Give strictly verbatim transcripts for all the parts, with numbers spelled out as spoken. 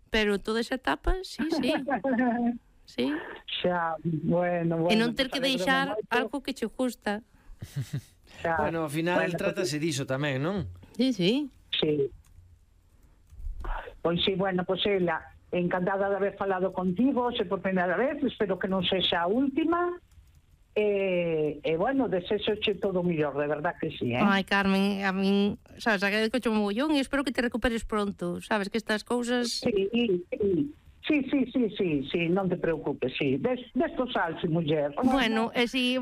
pero toda esa etapa, sí, sí. Sí. Xa, bueno, bueno. E non ter que pues, deixar moito. algo que che gusta. Xa, Bueno, ao final bueno, trátase diso tamén, non? Sí, sí. Sí. Pois sí, bueno, pois ela, encantada de haber falado contigo, se por primeira vez, espero que non sexa a última. E, e bueno, desexoche todo o millor, de verdad que sí, eh? Ai, Carmen, a min, sabes, agradezco un mogollón e espero que te recuperes pronto. Sabes que estas cousas... Sí, sí. Sí, sí, sí, sí, sí, non te preocupes, sí. Des, destos salse, muller. Bueno, e si...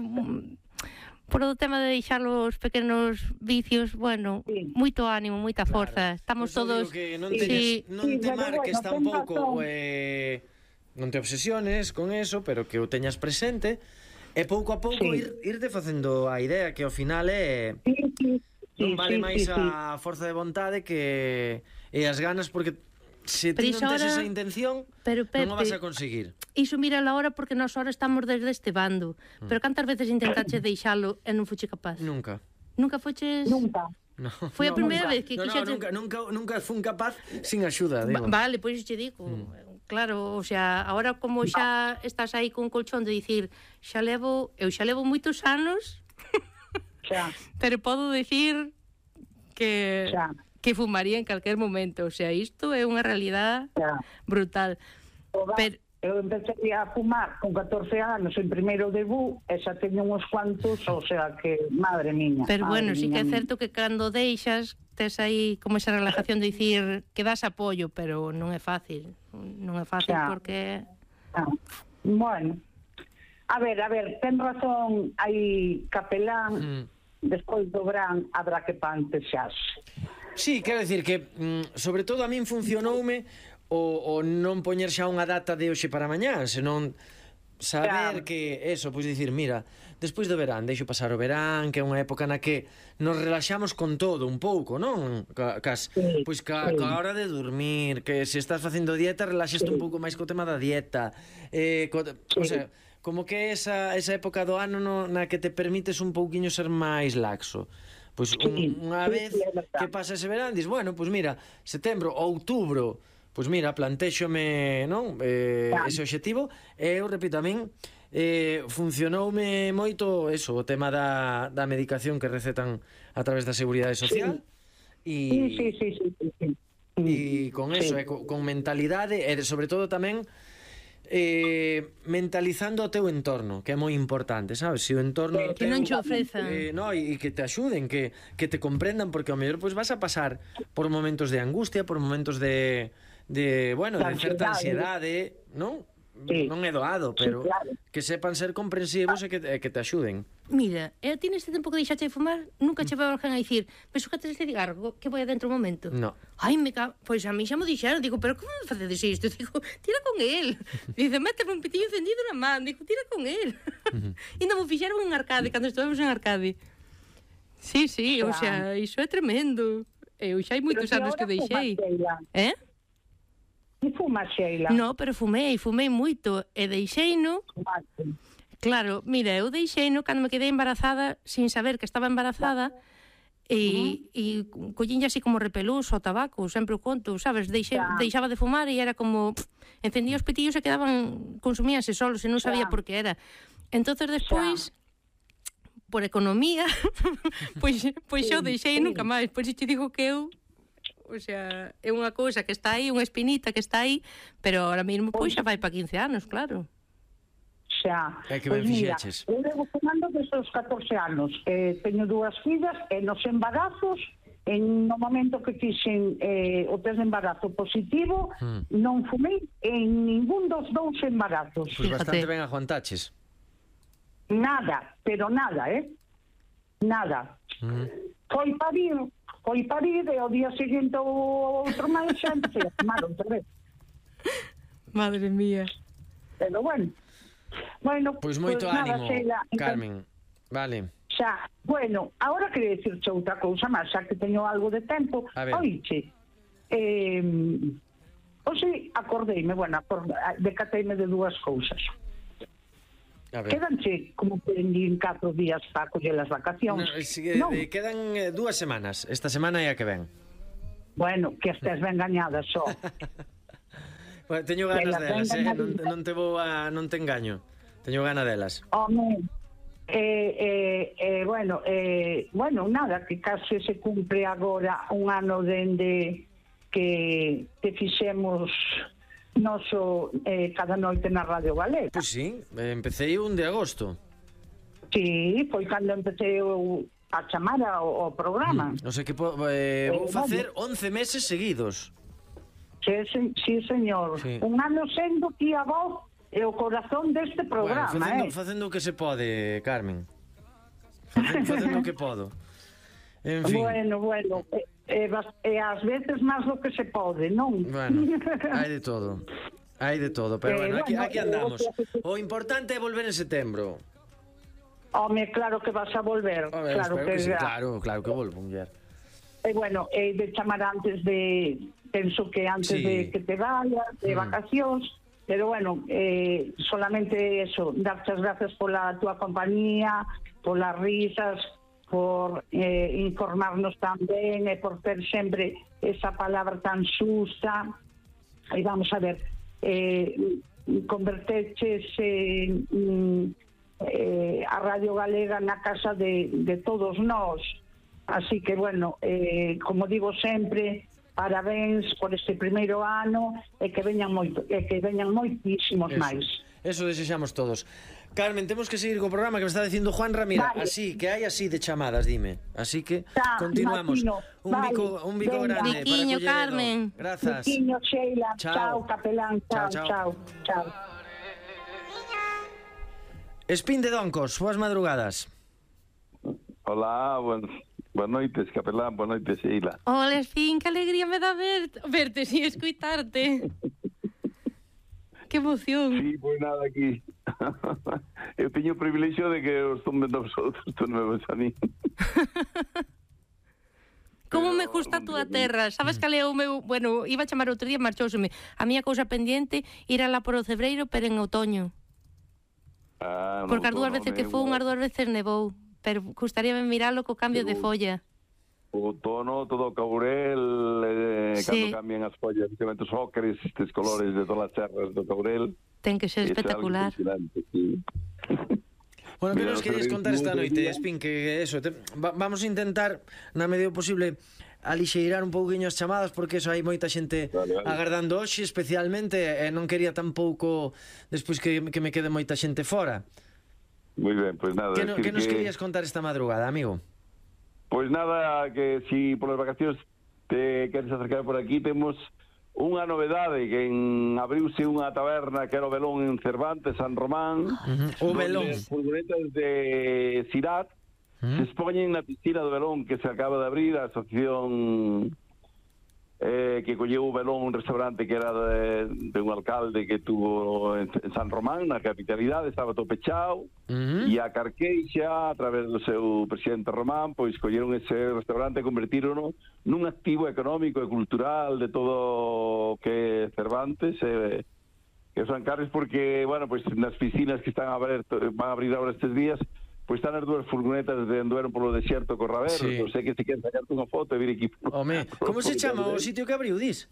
Por o tema de deixar os pequenos vicios, bueno, sí. Moito ánimo, moita forza. Claro. Estamos Pues todos... Que non, sí. teñas, non Sí, te pero marques bueno, tampouco, ten razón. eh, non te obsesiones con eso, pero que o teñas presente, e pouco a pouco Sí. ir, irte facendo a idea que ao final é... Sí, sí, non sí, vale sí, máis sí, a forza de vontade que e as ganas, porque se ti Pero non tes ahora- esa intención, Pero, Pepe, non o vas a conseguir. Iso mira a hora porque nós ahora estamos desde este bando. Mm. Pero cantas veces intentache deixalo e non fuche capaz? Nunca. Nunca fuches... Nunca. No, Foi a no, primeira nunca. vez que no, no, quixete- nunca, nunca, nunca fun capaz sin axuda, digo. Va, vale, pois te digo. Mm. Claro, o sea, ahora como xa estás aí con colchón de dicir xa levo, eu xa levo moitos anos, Xa, pero podo dicir que xa, que fumaría en calquer momento, o sea, isto é unha realidade xa. brutal. Toda, Pero- eu empecé a fumar con catorce anos en primeiro de bu e xa teño uns cuantos, o sea que, madre miña. Pero madre bueno, sí que é miña. certo que cando deixas tes aí como esa relajación de dicir que das apoio, pero non é fácil. Non é fácil Xa. porque Ah, bueno, a ver, a ver, ten razón, hai capelán, Mm. despois do verán habrá que pantexarse. Sí, quero dicir que mm, sobre todo a min funcionoume o, o non poñer xa unha data de hoxe para mañá, senón saber Claro. que eso, pois dicir, mira, despois do verán, deixo pasar o verán, que é unha época na que nos relaxamos con todo un pouco, non? Ca, cas, Sí, pois ca, sí. ca hora de dormir, que se estás facendo dieta, relaxaste Sí. un pouco máis co tema da dieta. Eh, co, o Sí. sea, como que esa esa época do ano no, na que te permites un pouquiño ser máis laxo. Pois un, Sí, unha sí, vez sí, é verdad. que pasa ese verán, dis, bueno, pois mira, setembro, outubro, pois mira, plantéxome, non? Eh, Claro. ese obxectivo, e eu repito, a min eh, funcionoume moito eso, o tema da, da medicación que recetan a través da Seguridade Social. E, Sí, sí, sí, sí, sí, sí. e con Sí. eso, e con, con mentalidade, e sobre todo tamén eh, mentalizando o teu entorno, que é moi importante, sabes? Se o entorno Que- do que non teu- che ofrezan. eh, no, e que te axuden, que, que te comprendan, porque ao mellor pois vas a pasar por momentos de angustia, por momentos de, de bueno, de De certa ansiedade. ansiedade, non? Sí. Non é doado, pero Sí, claro. que sepan ser comprensivos e que, e que te axuden. mira, e a ti neste tempo que deixaste de fumar, nunca che veu alguén a dicir, pero xócate este cigarro, que vai adentro un momento. No. Ai, me ca... Pois a mí xa mo dixeron, digo, pero como me facedes isto? Digo, tira con el. Dice, méteme un pitillo encendido na man, digo, tira con el. E non mo fixeron en Arcade, cando estuvemos en Arcade. Sí, sí, o sea, iso é tremendo. Eu xa hai moitos Pero anos ti que ahora deixei. fumas, Sheila. Eh? Ti fumas, Sheila? No, pero fumei, fumei moito e deixeino. Fumaste. Claro, mira, eu deixeino cando me quedei embarazada sin saber que estaba embarazada e, e collín así como repelús ao tabaco, sempre o conto, sabes? Deixe, Xa. deixaba de fumar e era como... Pff, encendía os petillos e quedaban, consumíanse solos e non sabía Xa. por que era. Entonces despois, por economía, pois, pois Sí, eu deixei sí. nunca máis. Pois te digo que eu... O sea, é unha cousa que está aí, unha espinita que está aí, pero ahora mesmo pois xa vai para quince anos, claro. Xa. É que Pois ben mira, fixeches. eu levo fumando desde os catorce anos. Eh, teño dúas fillas e nos embarazos, en no momento que fixen eh, o test de embarazo positivo, Mm. non fumei en ningún dos dous embarazos. Pois Fíjate. bastante ben aguantaches. Nada, pero nada, eh? Nada. Mm. Foi parir, foi parir e ao día seguinte o outro máis xa empecé a fumar outra vez. Madre mía. Pero bueno. Bueno, Pois moito pues nada, ánimo, Sheila, encan- Carmen. Vale. Xa, bueno, agora queria dicirche outra cousa máis, xa que teño algo de tempo. A ver. Oiche, eh, hoxe acordeime, bueno, acord, decateime de dúas cousas. A ver. Quedanche como que en catro días para coller as vacacións. No, si, eh, Non? eh, quedan eh, dúas semanas. Esta semana é a que ven. Bueno, que estés ben gañada só. Bueno, teño ganas Velas, delas, eh? venga, Non, non te vou a... non te engaño. Teño ganas delas. Home, eh, eh, eh, bueno, eh, bueno, nada, que case se cumpre agora un ano dende que, que fixemos noso eh, cada noite na Radio Galega. Pois sí, empecé un de agosto. Sí, foi cando empecé o, a chamar ao, ao programa. Non sei que po, eh, vou Eh, facer once meses seguidos. Sí, sí, sí, señor. Sí. Un ano sendo que a voz e o corazón deste programa, Bueno, facendo, eh? facendo o que se pode, Carmen. Facendo, facendo o que podo. En fin. Bueno, bueno, e, e, bas- e ás veces máis do que se pode, non? Bueno, hai de todo. Hai de todo, pero Eh, bueno, aquí, bueno, aquí eh, andamos. o que- O importante é volver en setembro. Home, claro que vas a volver. A ver, claro espero que sí, ya. claro, claro que volvo, muller. E bueno, e de chamar antes de, penso que antes Sí. de que te vayas, de Mm. vacacións, pero bueno, eh, solamente eso, darte as gracias pola túa compañía, polas risas, por eh, informarnos tan ben e por ter sempre esa palabra tan xusta. E vamos a ver, eh, converteches en, mm, eh, a Radio Galega na casa de, de todos nós. Así que, bueno, eh, como digo sempre, parabéns por este primeiro ano e que veñan moito, e que veñan moitísimos Eso. máis. Eso desexamos todos. Carmen, temos que seguir co programa que me está dicindo Juan Ramira. Vale. Así, que hai así de chamadas, dime. Así que Tá, continuamos. imagino. Un Vale, bico, un bico venga. grande Biquiño, para Colleredo. Carmen. Grazas. Biquiño, Sheila, Chao. chao, capelán, Chao, chao, chao. chao, chao. Espín de Doncos, boas madrugadas. Hola, buen, buenas noites, capelán, buenas noites, Sheila. Hola, Espín, que alegría me dá ver, verte e escuitarte. Que emoción. Sí, pois nada aquí. Eu teño o privilexio de que os son vendo vosotros, tú non me ves a mí. Como Pero, me gusta a túa hombre, terra. Sabes cal é o meu... Bueno, iba a chamar outro día, marchouseme. A miña cousa pendiente ir alá por o cebreiro, pero en outoño. Ah, non, Porque as dúas non, veces que eu- fun, as dúas veces nevou. Pero gustaríame miralo co cambio de Eu- folla. O outono, todo o caurel, eh, Sí. cando cambian as follas, especialmente os ócares, estes colores de todas as serras do caurel. Ten que ser Iso é algo espectacular. impresionante, sí. Bueno, que Mira, nos os querías servicios contar esta do noite, día. Espín, que eso, te, va, vamos a intentar, na medida posible, alixeirar un pouquiño as chamadas, porque eso hai moita xente Vale, vale. agardando hoxe, especialmente, e non quería tampouco, despois que, que me quede moita xente fora. Moi ben, pois nada. Que, no, decir que nos querías contar esta madrugada, amigo? Pois nada, que si polas vacacións te queres acercar por aquí, temos unha novedade, que en abriuse unha taberna que era o Belón en Cervantes, San Román. O donde Belón. as furgonetas de Sirat se expoñen na piscina do Belón que se acaba de abrir, a asociación eh, que colleu o Belón, un restaurante que era de, de un alcalde que tuvo en, en San Román, na capitalidade, estaba todo pechado. Uh -huh. E a Carqueixa, a través do seu presidente Román, pois colleron ese restaurante e convertírono nun activo económico e cultural de todo o que é Cervantes e, e os Ancares, porque, bueno, pois nas piscinas que están a abrir, van a abrir agora estes días, pois están as dúas furgonetas de andueron polo desierto Corraberos, Sí. non sei que se queren sacarte unha foto e vir aquí. Home, como se chama o sitio que abriu, dis?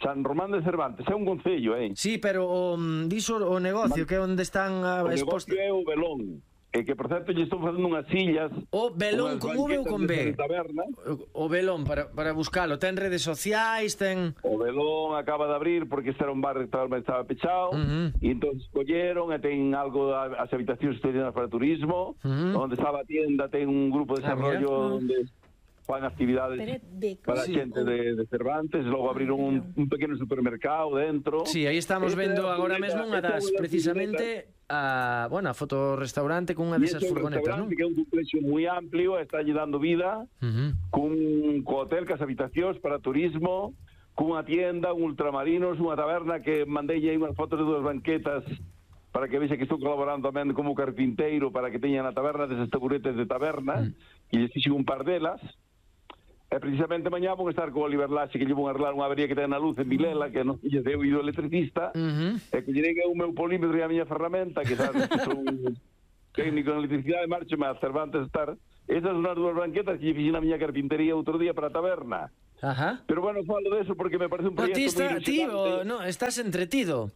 San Román de Cervantes, é un concello, eh? Sí, pero o, mm, dis o, o negocio, que é onde están a, O exposta... negocio é o Belón, e que, por certo, lle estou facendo unhas sillas. O Belón, unhas con V ou con banquetas B? de taberna. O, o Belón, para, para buscalo. Ten redes sociais, ten... O Belón acaba de abrir porque este era un bar que estaba, estaba pechado. Ujú. E entón colleron e ten algo, a- as habitacións estudiadas para turismo, Ujú. onde estaba a tienda, ten un grupo de Ah, mira. desarrollo onde fan actividades para a Sí. xente de, de Cervantes. Logo abriron un, un pequeno supermercado dentro. Sí, aí estamos Esta vendo é a agora furgoneta- mesmo unha esta é das, unha das precisamente, a, bueno, a fotorestaurante cunha E desas este é un furgonetas, non? restaurante que é un complexo moi amplio, está lle dando vida, Uh -huh. cun co hotel, cas habitacións para turismo, cunha tienda, un ultramarinos, unha taberna que mandei aí unhas fotos de dúas banquetas para que vexa que estou colaborando tamén como carpinteiro para que teñan a taberna deses taburetes de taberna, Mm. e lles fixen un par delas. E precisamente mañá vou estar co Oliver Laxe, que lle vou arreglar unha avería que ten na luz en Vilela, que non lle deu ido electricista, Uh -huh. e que lle o meu polímetro e a miña ferramenta, que sabes que son técnico en electricidade, marcho a Cervantes estar. Esas son as dúas banquetas que lle fixen a miña carpintería outro día para a taberna. Ajá. Pero bueno, falo de eso porque me parece un No, proxecto ti, moi está, ti ilusionante. o, no, estás entretido.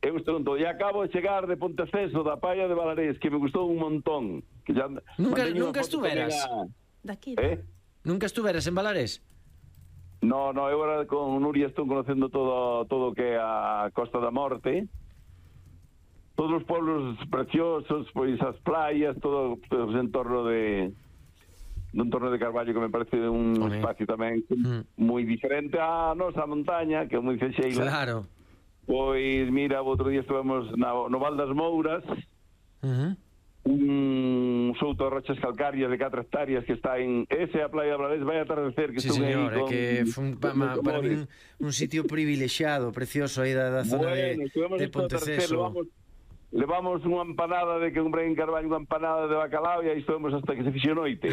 Eu estou todo. E acabo de chegar de Ponteceso, da Palla de Valarés, que me gustou un montón. Que ya Nunca- manteño unha nunca foto estuveras? tamén Daqui. A... Eh? Nunca estuveras en Valarés? No, no, eu agora con Nuria estou conocendo todo todo o que é a Costa da Morte. Todos os pueblos preciosos, pois as playas, todo, todo o entorno de un entorno de Carballo que me parece un Home. espacio tamén Mm. moi diferente a nosa montaña, que é moi fexeila. Claro. Pois mira, o outro día estivemos na, no Val das Mouras, Uh-huh. un souto de rochas calcarias de catro hectáreas que está en ese a Playa de Valarés, vai atardecer que Sí, estuve señor, aí é con, que foi un, pa, con ma, meus para amores. min un sitio privilexiado, precioso aí da, da zona Bueno, de, estuvemos de isto a atardecer, Ponteceso. levamos, levamos unha empanada de que comprei en Carballo, unha empanada de bacalao e aí estuvemos hasta que se fixo noite.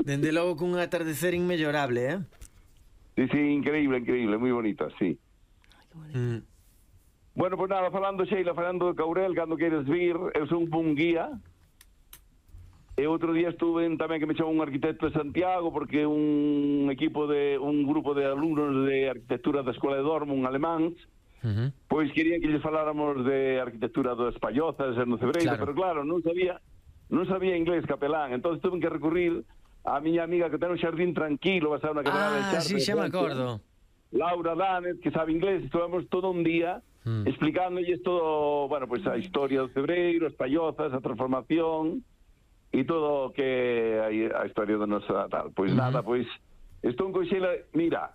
Dende logo cun atardecer inmellorable, eh? Sí, sí, increíble, increíble, moi bonita, sí. Mm. Bueno, pues nada, falando, Sheila, falando de Caurel, cando queres vir, eu son un guía. E outro día estuve en, tamén que me chamou un arquitecto de Santiago, porque un equipo de, un grupo de alumnos de arquitectura da Escola de Dortmund, alemáns, Uh-huh. pois querían que lles faláramos de arquitectura das Pallozas e no Cebreiro, Claro. pero claro, non sabía non sabía inglés capelán, entón tuve que recurrir a miña amiga que ten un xardín tranquilo, basado na quebrada de Ah, Chartres, sí, xa me Francia, acordo. Laura Danez, que sabe inglés, estuvemos todo un día Mm. explicándolle todo, bueno, pues a historia do Cebreiro, as Pallozas, a transformación e todo o que a, a historia da nosa tal. Pois Ujú. nada, pois estou con Xela, mira,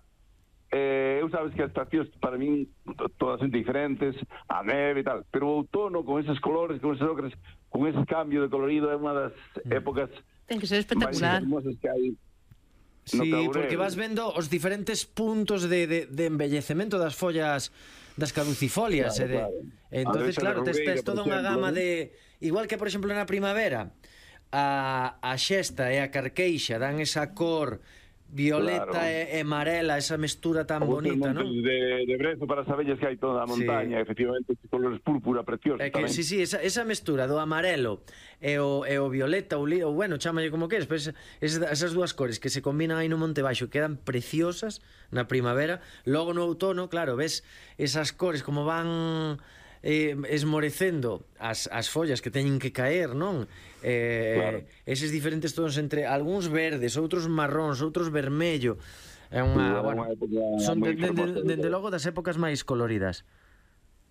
eh, eu sabes que as estacións para min to- todas son diferentes, a neve e tal, pero o outono con esos colores, con esos ocres, con ese cambio de colorido é unha das épocas Ten que ser máis espectacular. hermosas que hai. No Sí, Caurel. porque vas vendo os diferentes puntos de, de, de embellecemento das follas das caducifolias. Claro, e de, claro. entonces, A claro, tes, Rubeira, tes por toda unha exemplo, gama ¿no? de... Igual que, por exemplo, na primavera, a, a xesta e a carqueixa dan esa cor violeta Claro. e, e amarela, esa mestura tan Os bonita, montes non? de, de brezo para as abellas que hai toda a Sí. montaña, efectivamente, estes colores púrpura preciosos É que, tamén. sí, sí, esa, esa mestura do amarelo e o, e o violeta ou, li, ou bueno, chámalle como queres, pero esas, esas dúas cores que se combinan aí no Monte Baixo quedan preciosas na primavera. Logo no outono, claro, ves esas cores como van eh, esmorecendo as, as follas que teñen que caer, non? Eh, Claro. Eses diferentes tons entre algúns verdes, outros marróns, outros vermello. É Sí, unha, é bueno, unha época son moi de, de, fermosa. de, dende logo das épocas máis coloridas.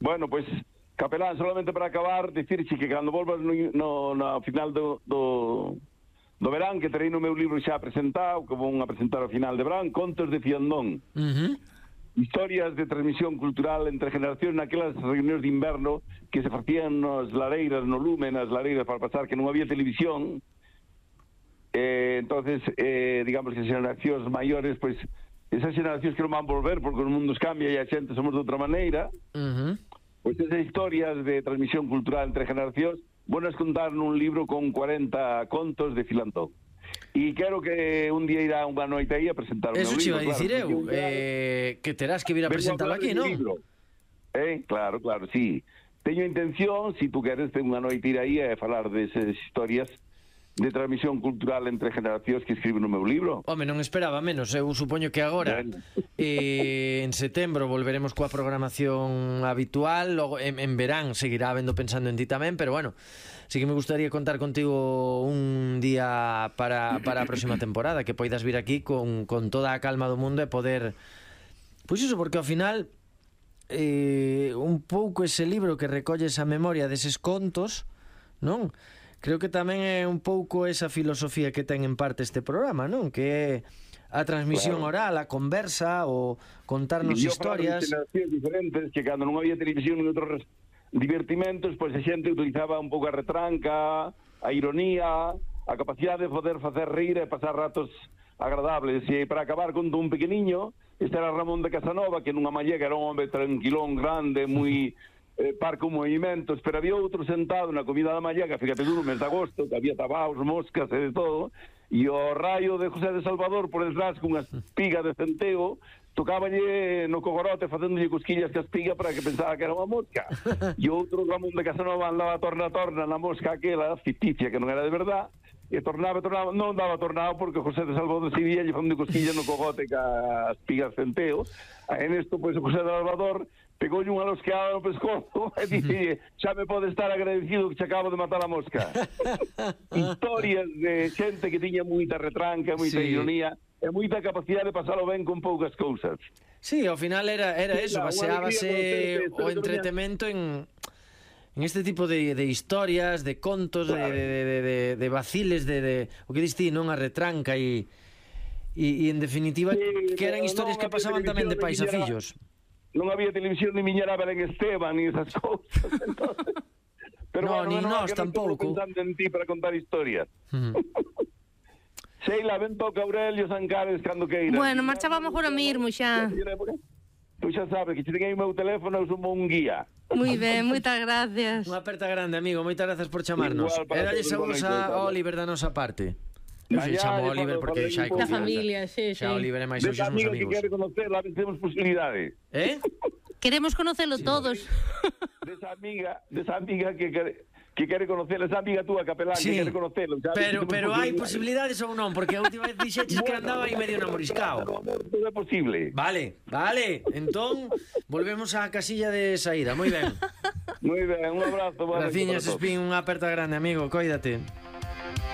Bueno, pois, pues, Capelán, solamente para acabar, dicirche que cando volvas no, no, no final do, do, do verán, que terei no meu libro xa presentado, que vou a presentar ao final de verán, Contos de Fiandón. Uh-huh. Historias de transmisión cultural entre generacións naquelas reunións de inverno que se facían nas lareiras, no lume, nas lareiras para pasar, que non había televisión. Eh, entonces, eh, digamos que as generacións maiores, pois, esas generacións que non van volver porque os mundos cambia e a xente somos de outra maneira, Uh-huh. pois esas historias de transmisión cultural entre generacións buenas contar nun libro con cuarenta contos de Filantón. E quero que un día irá unha noite aí a presentar o meu Eso libro. che iba a dicir claro, eu, porque un día- eh, que terás que vir a Vengo presentalo hablar aquí, de mi non? libro. Eh, claro, claro, sí. Teño intención, si tú queres, de unha noite ir aí a falar desas historias de transmisión cultural entre generacións que escribo no meu libro. Home, non esperaba menos, eu supoño que agora Ben. eh, en setembro volveremos coa programación habitual, logo en, en verán seguirá habendo pensando en ti tamén, pero bueno, sí que me gustaría contar contigo un día para, para a próxima temporada, que poidas vir aquí con, con toda a calma do mundo e poder... Pois iso, porque ao final eh, un pouco ese libro que recolle esa memoria deses contos, non? Creo que tamén é un pouco esa filosofía que ten en parte este programa, non? Que é a transmisión Claro. oral, a conversa, o contarnos E eu falaba de historias. generacións diferentes que cando non había televisión e outros divertimentos, pois a xente utilizaba un pouco a retranca, a ironía, a capacidade de poder facer rir e pasar ratos agradables. E para acabar con un pequeniño, este era Ramón de Casanova, que nunha mallega era un hombre tranquilón, grande, moi eh, parco movimentos, pero había outro sentado na comida da mallega, fíjate tú, no mes de agosto, que había tabaos, moscas e de todo, e o raio de José de Salvador por detrás cunha espiga de centeo tocáballe no cogorote facéndolle cosquillas que a espiga para que pensaba que era unha mosca. E outro Ramón de Casanova andaba torna a torna na mosca aquela ficticia que non era de verdad, e tornaba, tornaba, non daba tornado porque José de Salvador Sevilla lle fonde cosquilla no cogote ca as pigas centeo, e nesto, pois, o José de Salvador pegou unha losqueada no pescozo e dice, xa me pode estar agradecido que che acabo de matar a mosca. Historias de xente que tiña moita retranca, moita sí. ironía, e moita capacidade de pasalo ben con poucas cousas. Sí, ao final era, era sí, eso, baseábase o entretemento en... en este tipo de, de historias, de contos, claro. de, de, de, de, de vaciles, de, de o que diste, non a retranca e, e, e en definitiva sí, que eran historias que pasaban tamén de pais a fillos. Non había televisión ni miñera Belén Esteban ni esas cousas. Entonces, pero no, bueno, ni bueno, nós tampouco. Pensando en ti para contar historias. Uh -huh. Sheila, ven toca Aurelio Sancares cando queiras. Bueno, marchábamos agora mesmo xa. Pois xa sabes que che ten aí o meu teléfono, eu sumo un guía. Moi ben, moitas gracias. Unha aperta grande, amigo, moitas grazas por chamarnos. Era lle saúdos a Oliver da nosa parte. Eu se chamo Oliver porque xa hai confianza. confianza. Da familia, sí, sí. Xa Oliver e máis hoxe somos amigos. Que quere conocer, a ver, temos posibilidades. Eh? Queremos conocelo sí. todos. Desa amiga, desa amiga que quere... que quere conocer, esa amiga túa capelán sí. que quere conocelo. Pero, pero hai posibilidades ou non? Porque a última vez dixeches que andaba aí medio namoriscao. Non é posible. Vale, vale. Entón, volvemos á casilla de saída. Moi ben. Moi ben, un abrazo. Graciñas, Espín, unha aperta grande, amigo. Cóidate.